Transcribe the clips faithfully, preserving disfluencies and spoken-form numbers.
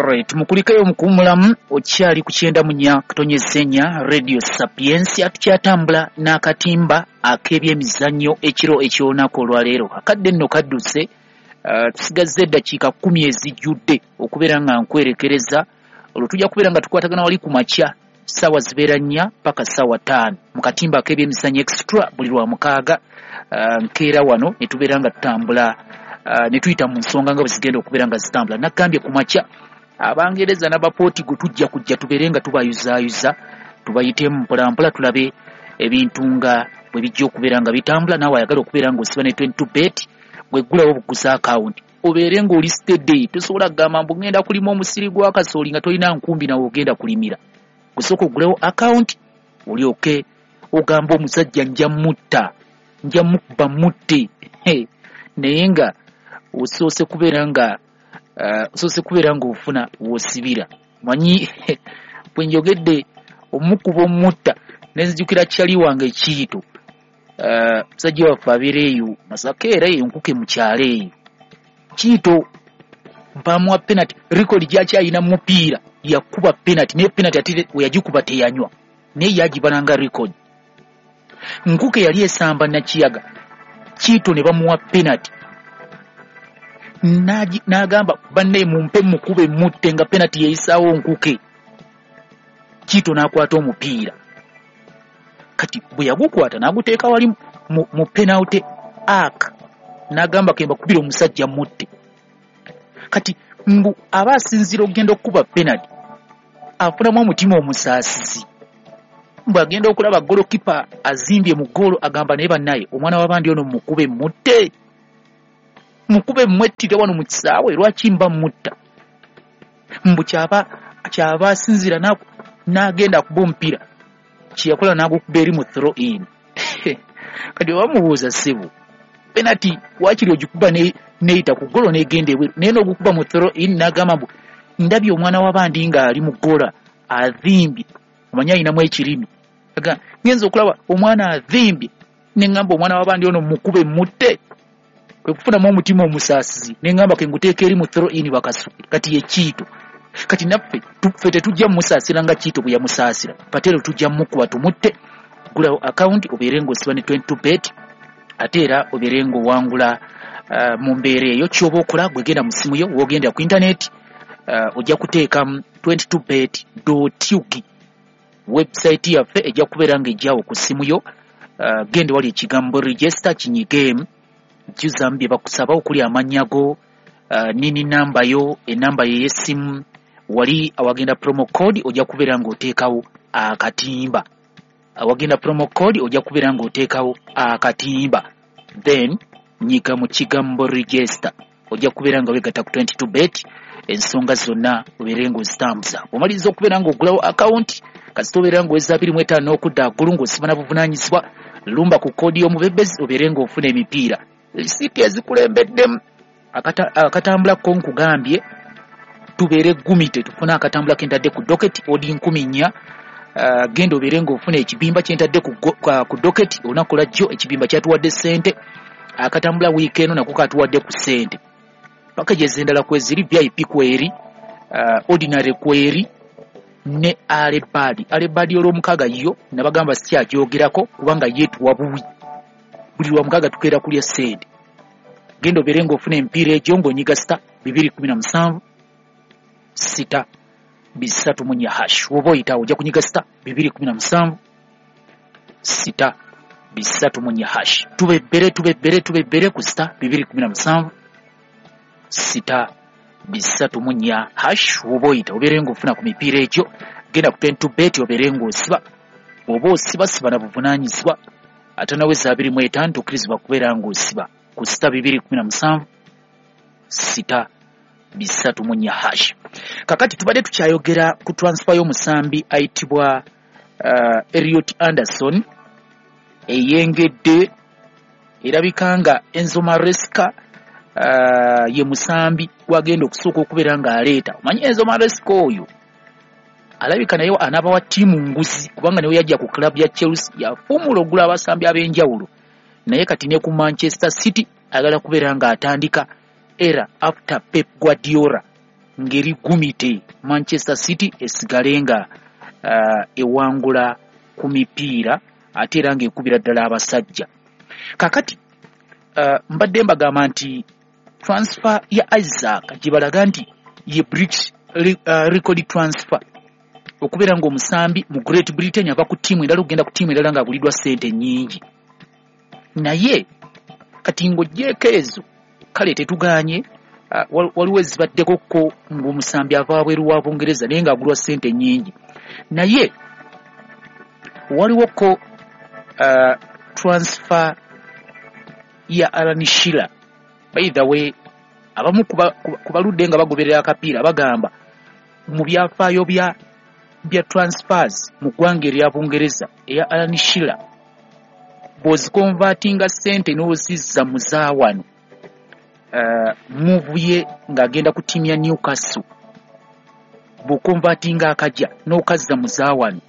Alright, mukulikeyo mukuwummulamu. Okyali ku kyenda mu nnya katonyeza ennya Radio Sapiensia. Tukyatambula n'akatimba ak'ebyemizannyo ekiro eky'olunaku olwaleero. Akadde nno kadduse, uh, tusigazza eddakiika kkumi ezijjudde okubeera nga nkwerekereza. Olwo tujja kubeera nga tukwatagana wali ku makya, ssaawa zibeera nnya paka ssaawa ttaano mu katimba ak'ebyemizannyo extra buli lwa mukaaga. uh, nkeera wano ne tubeera nga tutambula, uh, ne tuyita mu nsonga nga bwe zigenda okubeera nga zitambula. Nagambye ku makya Abangereza n'Abapotigo tujja kujja tubeere nga tubayuzaayuza, tubayitemu mpolampola, tulabe ebintu nga bwe bijja okubeera nga bitambula. Naawe ayagala okubeera ng'osiba ne twenty-two bet, bw'eggulawo buguza akawunti obeere ng'oli steady. Tosobola kugamba mbu ngenda kulima omusiri gwa kasooli nga tolina nkumbi nawe ogenda kulimira. Gusooka oggulewo akawunti olyoke ogamba omusajja nja mutta, nja mukuba mutte, naye nga osoose kubeera nga osoose kubeera ng'ofuna w'osibira. Manyi bwe njogedde omukuba omutta ne nzijukira kyali wange Kiyito, musajja waffe abeera eyo Masaka, era eyo Nkuke mu kyalo eyo. Kiyito mpamuwa penalty, record gy'akyalina mu mupiira yakuba penalty, naye penalty ate we yagikuba teyanywa, naye yagibala nga record. Nkuke yali esamba Nakiyaga, Kiyito ne bamuwa penalty, n'agamba banne mumpe mukube mutte, nga penalty yeyisaawo Nkuke. Kiyito n'akwata omupiira, kati bwe yagukwata n'aguteeka wali mu, mu penalty arc, n'agamba ke mbakubire omusajja mutte. Kati mbu aba asinziira okugenda okukuba penalty afunamu omutima omusaasizi, mbu agenda okulaba golokipa azimbye mu ggoolo, agamba naye bannaye omwana w'abandi ono mukube mutte, mukube mwettire wano mu kisaawe, lwaki mba mutta? Mbu kyaba kyaba asinziira n'agenda akuba omupiira, kye yakola n'agukuba eri mu throw in. Kati bamubuuza, ssebo, penalty waakiri ogikuba neyita ku ggolo n'egenda ebweru, naye n'ogukuba mu throw in? N'agamba mbu ndabye omwana w'abandi ng'ali mu ggola azimbye, omanyi alinamu ekirimi, ngenza okulaba omwana azimbye ne ŋŋamba omwana w'abandi ono mukube mutte, kwe kufunamu omutima omusaasizi ne ŋŋamba ke nguteeka eri mu throw in bakasuke. Kati ye Kiyito. Kati naffe ffe tetujja mumusaasira nga Kiyito bwe yamusaasira, patero tujja mumukuba tumutte. Gulawo akawunti obeere ng'osiba ne twenty-two bet, ate era obeere ng'owangula uh, mu mbeera eyo. Ky'oba okola, gwe genda mu ssimu yo, w'ogendera ku intaneti, uh, ojja kuteekamu twenty-two bet ug, website yaffe ejja kubeera ng'ejjawo ku ssimu yo. uh, genda wali ekigambo register, kinyigeemu, jjuzamu bye bakusaba okuli amannya go, uh, nini namba yo, enamba yo ey'essimu. Wali awagenda promo code ojja kubeera ng'oteekawo akatimba, awagenda promo code ojja kubeera ng'oteekawo akatimba, then nyiga mu kigambo register, ojja kubeera nga weegatta ku twenty-two bet, ensonga zonna obeere ng'ozitambuza. Omaliriza okubeera ng'ogulawo akawunti, kasita obeera ng'oweza abiri mu etaano n'okudda waggulu ng'osiba na buvunaanyizibwa, lumba ku koodi y'omubebezi obeere ng'ofuna emipiira. Risiiti ezikulembeddemu akatambula ko nkugambye tubeere gumite tufune akatambula ke ntadde ku docket odi nkumi nnya. Uh, genda obeere ng'ofuna ekibimba kye ntadde ku, ku docket olunaku lwajjo. Ekibimba kyatuwadde ssente, akatambula wiiki eno nako katuwadde ku ssente. Packages endala kweziri, V I P kweri, uh, ordinary kweri ne early bird. Early bird olwomukaaga yo nabagamba sikyagyogerako kubanga ye tuwa buwi, buli lwa mukaaga tukeera kulya ssente. Genda obeere ng'ofuna emipiira egyo ng'onyiga star bibiri kumi na musanvu sita bisatu mu nnya hash. Woba oyitawo ojja kunyiga star bibiri kumi na musanvu sita bisatu mu nnya hash. Tubebbere, tubebbere, tubebbere ku star bibiri kumi na musanvu sita bisatu mu nnya hash. Woba oyita obeere ng'ofuna ku mipiira egyo. Genda ku twenty-two bet obeere ng'osiba. Bw'oba osiba, siba na buvunaanyizibwa. Ate naweza abiri mu etaano tokkirizibwa kubeera ng'osiba ku star bibiri kumi na musanvu sita bisatu mu nnya hash. Kakati tubadde tukyayogera ku transfer y'omusambi ayitibwa uh, Elliot Anderson eyengedde. Erabika nga Enzo Maresca uh, ye musambi gwagenda okusooka okubeera ng'aleeta. Omanyi Enzo Maresca oyo alabika naye anaaba wa ttiimu nguzi, kubanga naye yajja ku club ya Chelsea yafuumula ogula abasambi ab'enjawulo, naye kati ne ku Manchester City ayagala kubeera ng'atandika era after Pep Guardiola. ngeri gumite Manchester City esigale nga uh, ewangula ku mipiira ate era ng'ekubira ddala abasajja. Kakati uh, mbadde mbagamba nti transfer ya Isaac gye balaga nti ye British uh, record transfer, okubeera ng'omusambi mu Great Britain ava ku ttiimu endala okugenda ku ttiimu endala ng'aguliddwa ssente nnyingi. Naye kati ng'oggyeeko ezo, kale tetugaanye, uh, waliwo ezibaddeko ko ng'omusambi ava wabweru wa Bungereza naye ng'agulwa ssente nnyingi. Naye waliwo ko uh, transfer ya Alan Shearer. By the way, abamu ku baludde nga bagoberera akapiira bagamba mu byafaayo bya bya transfers mu ggwanga erya Bungereza, eya Alan Shearer bw'oziconvertinga ssente n'ozizza mu zaawano, uh, move ye ng'agenda ku ttiimu ya Newcastle, bw'oconvertinga akajja n'okazza mu zaawano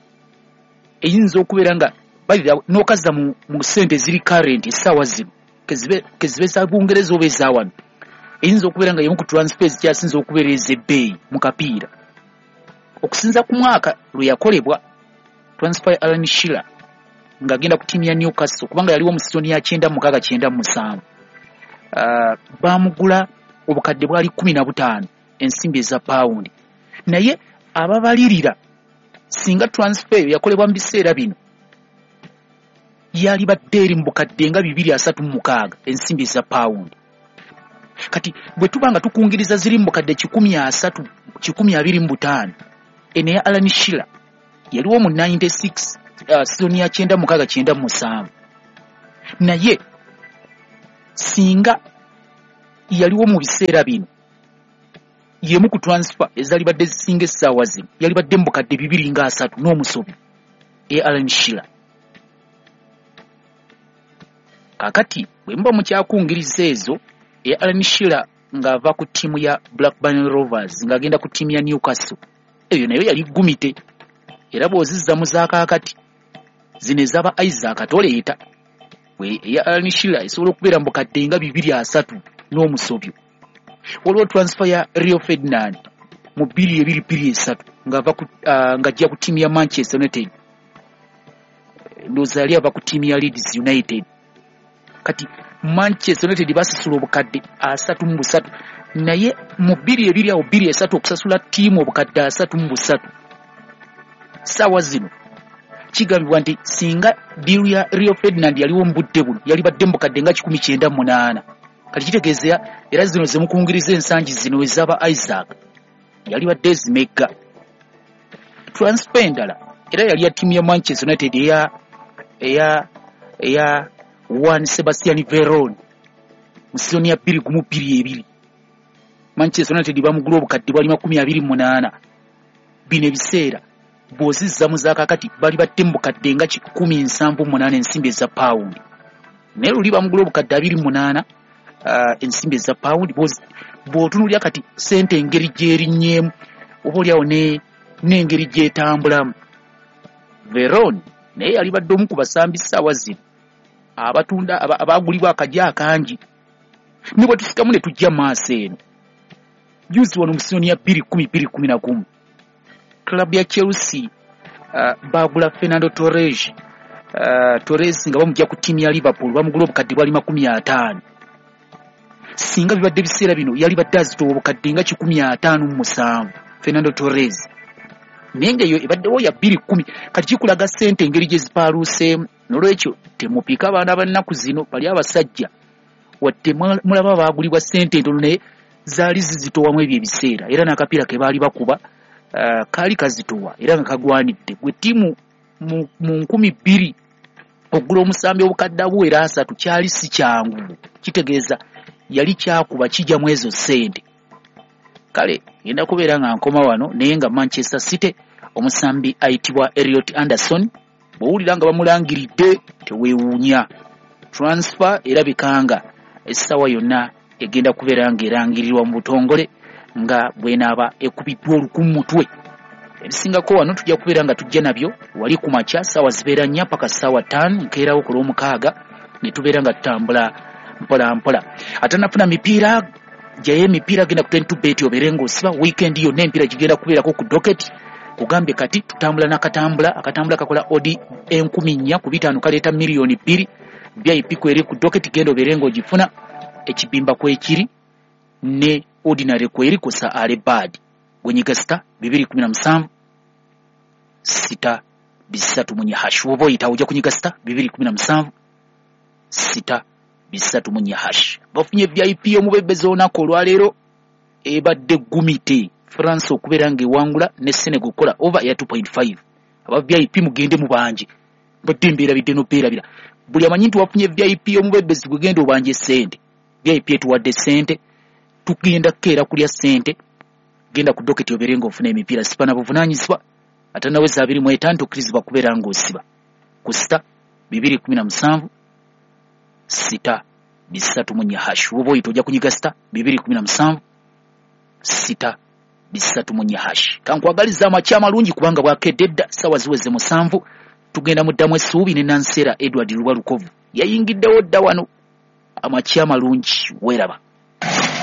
eyinza okubeera nga n'okazza mu, mu ssente eziri current essaawa zino, kezibe, kezibe za Bungereza oba ezaawano, eyinza okubeera nga yemu ku transfer ezikyasinza okubeera ez'ebbeeyi mu kapiira okusinza ku mwaka lwe yakolebwa transfer ya Alan Shearer ng'agenda ku ttiimu ya Newcastle, kubanga yaliwo mu sizoni ya kyenda mukaaga kyenda musanvu. uh, baamugula obukadde bwali kkumi na butaano ensimbi eza pawundi. Naye ababalirira singa transfer eyo yakolebwa mu biseera bino yalibadde eri mu bukadde nga bibiri asatu mu mukaaga ensimbi eza pawundi. Kati bwe tuba nga tukungiriza ziri mu bukadde kikumi asatu kikumi abiri mu butaano, eno eya Alan Shearer yaliwo mu nsanvu mu mwenda, uh, sizoni ya kyenda mukaaga kyenda musanvu. Naye singa yaliwo mu biseera bino, yemu ku transfer ezalibadde zisinga essaawa zino yalibadde mu bukadde bibiri nga asatu n'omusobi eya Alan Shearer. Kakati bwe muba mukyakungiriza ezo, eya Alan Shearer ng'ava ku ttiimu ya Blackburn Rovers ng'agenda ku ttiimu ya Newcastle, eyo nayo yali gumite. Era bw'ozizza mu zaakaakati zino ezaba Isaac toleeta, eya Alan Shearer esobola okubeera mu bukadde nga bibiri asatu n'omusobyo. Waliwo transfer ya Rio Ferdinand mu bbiri ebiri bbiri esatu ng'ava ku uh, ng'ajja ku ttiimu ya Manchester United, ndowooza yali ava ku ttiimu ya Leeds United. Kati Manchester United basasula obukadde asatu mu busatu, naye mu bbiri ebiri awo bbiri esatu okusasula ttiimu obukadde asatu mu busatu ssaawa zino, kigambibwa nti singa deal ya Rio Ferdinand yaliwo mu budde buno yalibadde mu bukadde nga kikumi kyenda mu munaana. Kati kitegeeza era zino zemukungiriza ensangi zino ezaba Isaac yalibadde ezimegga. Transfer endala era yali ya ttiimu ya Manchester United eya eya eya Juan Sebastian Veron mu sizoni ya bbiri gumu bbiri ebiri. Manchester United bamugula obukadde bwali makumi abiri mu munaana. Bino ebiseera bw'ozizza mu zaakakati bali batte mu bukadde nga kikumi nsanvu munaana ensimbi eza pawundi, naye luli bamugula obukadde abiri mu munaana uh, ensimbi eza pawundi. Bw'otunuulira kati ssente engeri gy'erinnyeemu oba oliawo n'engeri gy'etambulamu, Veron naye yali badde omu ku basambi ssaawa zino abatunda abagulibwa akajja akangi. Ne bwe tusikamu ne tujja maaso eno, juzi wano mu sizoni ya bbiri kkumi bbiri kkumi na gumu club ya Chelsea uh, bagula Fernando Torres, uh, Torres nga bamujja ku ttiimu ya Liverpool, bamugula obukadde bwali makumi ataano. Singa bibadde biseera bino yalibadde azitowa obukadde nga kikumi ataano mu musanvu Fernando Torres, naye ng'eyo ebaddewo ya bbiri kkumi. Kati kikulaga ssente engeri gye zipaaluuseemu. Nolwekyo temupiika abaana bannaku zino bali abasajja, wadde mulaba baagulibwa ssente entono, naye zaali zizitowamu ebyo ebiseera, era n'akapiira ke baali bakuba uh, kaali kazitowa era nga kagwanidde. Gwe ttiimu mu, mu nkumi bbiri okugula omusambi obukadde abuwera asatu kyali si kyangu, kitegeeza yali kyakuba kijja mu ezo ssente. Kale ngenda kubeera nga nkoma wano, naye nga Manchester City omusambi ayitibwa Elliot Anderson bw'owulira nga bamulangiridde teweewuunya, transfer erabika nga essaawa yonna egenda kubeera ng'erangirirwa mu butongole nga bwenaaba ekubiddwa olukumu mutwe. Ebisingako wano tujja kubeera nga tujja nabyo wali ku makya ssaawa zibeera nnya paka ssaawa ttaano nkeerawo ku lw'omukaaga, ne tubeera nga tutambula mpola mpola. Atanafuna mipiira Jaye emipiira, genda ku twenty-two bet obeere ng'osiba. Weekend yonna emipiira gigenda kubeerako ku docket. Kugambye kati tutambula n'akatambula, akatambula kakola odi enkumi nnya ku bitaano, kaleeta miliyoni bbiri. V I P kweri ku docket, genda obeere ng'ogifuna. Ekibimba kwekiri ne ordinary kweri kusa ale bad. Gwenyiga star bibiri kumi na musanvu sita bisatu munye hash. Woba oyita ojja kunyiga star bibiri kumi na musanvu sita bisatu munye hash. Bafunye V I P omubebezi olunaku olwaleero ebadde gumite France okubeera ng'ewangula ne Senegal okukola over ya two point five. Aba V I P mugende mubanje, mbadde mbeerabidde n'obeerabira. Buli amanyi nti wafunye V I P omubebezi gwe genda obanje ssente. V I P etuwadde ssente, tugenda kukeera kulya ssente. Genda ku docket obeere ng'ofuna emipiira. Siba na buvunaanyizibwa atanaweza abiri mu etaano tokkirizibwa kubeera ng'osiba ku sita bibiri kumi na musanvu sita bisatu munye hash. Woba oyita ojja kunyiga sita bibiri kumi na musanvu sita bisatu munye hash. Kankwagaliza amakya amalungi kubanga bwakedde dda, ssaawa ziweze musanvu. Tugenda mu ddamu essuubi ne Nansera Edward Lubalukovu yayingiddewo dda wano. Amakya amalungi, weeraba.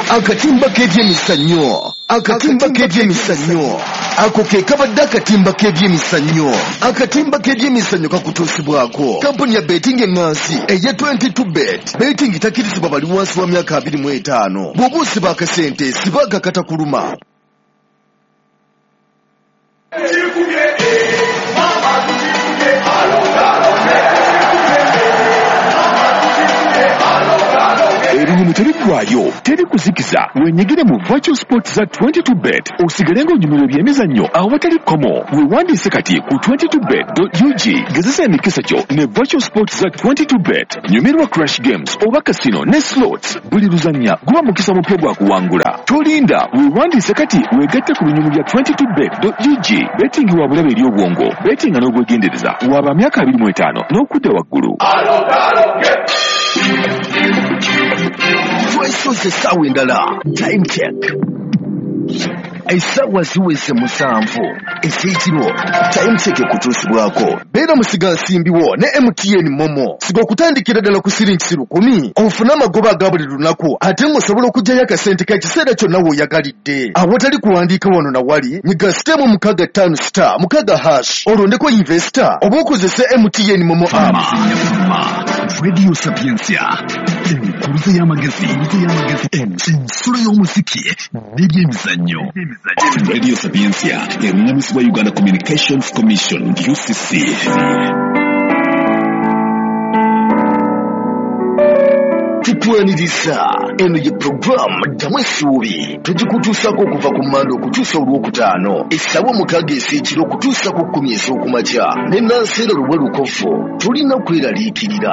Akatimba k'ebyemizannyo, akatimba k'ebyemizannyo, ako ke kabadde akatimba k'ebyemizannyo. Akatimba k'ebyemizannyo kakutuusibwako kampuni ya betting eŋŋansi eya twenty-two bet. Betting takkirizibwa bali wansi wa myaka abiri mu etaano. Bw'oba osiba akasente, siba akakatakuluma. Ebinyumu tebiggwayo, teri kuzikiza. Wenyigire mu virtual sports za twenty-two bet osigale ng'onyumirwa ebyemizannyo awatali kkomo. Weewandiise kati ku twenty-two bet dot U G. Gezesa emikisa gyo ne virtual sports za twenty-two bet. Nyumirwa crash games oba casino ne slots. Buli luzannya guba mukisa mupya gwa kuwangula. Tolinda, weewandiise kati weegatte ku binyumu bya twenty-two bet dot U G. Betting wa bulabe eri obwongo, bettinga n'obwegendereza. Waba myaka abiri mu etaano n'okudda waggulu. Twesoze essaawa endala. Time check. Essaawa ziweze musanvu ez'ekiro. Time check ekutuusibwako. Beera musigansimbiwo ne M T N Momo. Siga okutandikira ddala ku siringi lukumi ofune amagoba aga buli lunaku, ate ng'osobola okuggyayo akasente k'ekiseera kyonna w'oyagalidde. Awatali kuwandiika wano na wali, nyiga sitemu mukaaga ttaano star mukaaga hash olondeko investor oba okozese M T N Momo app. Radio Sapientia, enkuruze y'amagezi, ensulo y'omuziki n'ebyemizannyo. Radio Sapientia eruŋŋamizibwa Uganda Communications Commission U C C. Tukwaniriza eno ye puroguramu Ddamu Essuubi. Tugikutuusaako okuva ku Mmande okutuusa olwokutaano essaawa mukaaga ez'ekiro okutuusa ku kkumi ez'okumakya ne Nansera Luwelukofu. Tulina kweraliikirira.